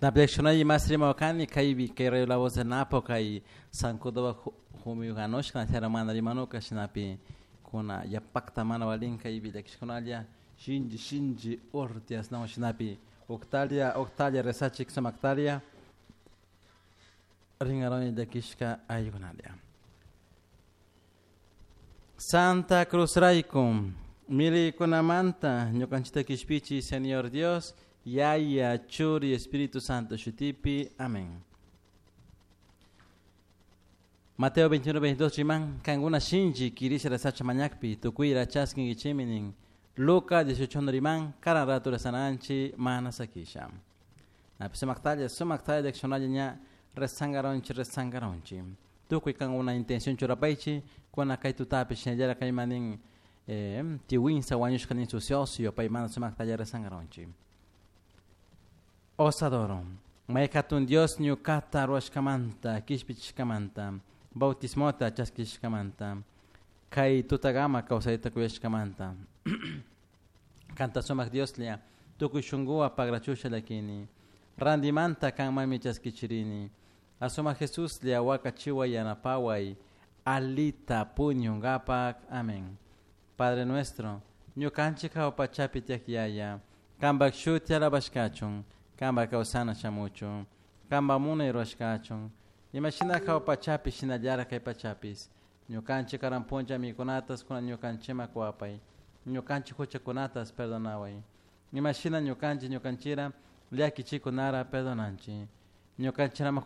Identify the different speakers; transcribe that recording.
Speaker 1: Napiakshunay masri mawakani kaypi kay Radio La Voz de Napo kay Sancudoba humiyuganushka mana rimanuka shinapi kuna yapakta mana valin kaypi llakishkunalla shinchi shinchi urtias nawan shinapi Octalia Octalia rezachik sumaktalia ringaroni llakishka ayukunalia. Santa Cruz raykum milikunamanta ñukanchita kishpichi Señor Dios Yaya Churi Espíritu Santo shutipi. Amén. Mateo 21, 22 riman kankuna shinchi kirisha rezacha mañakpi tukuyra chaskinkichiminin. Lucas 18 riman karan ratu rezananchi mana sakisha. Napi sumaktalla sumaktalla leccionalla ña rezangaronchi rezangaronchi. Tukuy kankuna intención churapaychi kuna kay tutapi shinallara kaymanin tiwinsa wañushka nin sucioso pay mana sumaktalla rezangaronchi. Os adoro. May hatun Dios ñukata ruwashkamanta, kishpichishkamanta, bautismota chaskishkamanta, kay tutagama kawsayta kuyashkamanta. Kanta sumak Dioslla, tukuy shunkuwa pagrachusha llakini. Randimanta kanmanmi chaskichirini. Asumak Jesuslla wakachiway yanapaway, alita puñunkapak. Amén. Padre nuestro, ñukanchik hawa pachapi tiyak yaya, kanpak shuti alabashkachun, kanpak kawsana shamuchun, kanpak munay rurashkachun, imashina hawa pachapi shinallara kay pachapis, ñukanchik karan punlla mikunatas kuna ñukanchikman kuwapay, ñukanchik huchakunatas perdonaway, imashina ñukanchik ñukanchira llakichikunara perdonanchik, ñukanchirama.